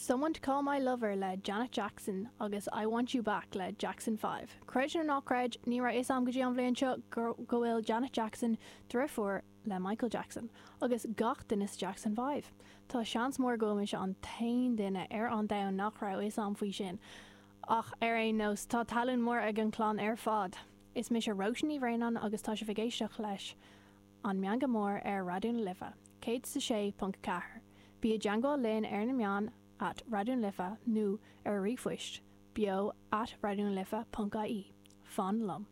Someone to Call My Lover le Janet Jackson agus I Want You Back le Jackson 5. Creid nó ná creid, ní raibh fhios a'm go dtí an bhliain seo go bhfuil Janet Jackson driofúr le Michael Jackson agus gach duine sa Jackson 5. Tá seans mór go bhfuil mise an t-aon duine ar an domhan nach raibh fhios a'm faoi sin. Ach ar aon nós, tá talún mór ag an chlann ar fad! Is mise Róisín Ní Bhraonáin agus tá sibh ag éisteacht leis An Meangadh Mór ar Raidió na Life 106.4. Bí i dteangmháil linn ar na meáin at Raidió na Life nó ar ríomhphoist beo at raidionalife.ie. Fan liom.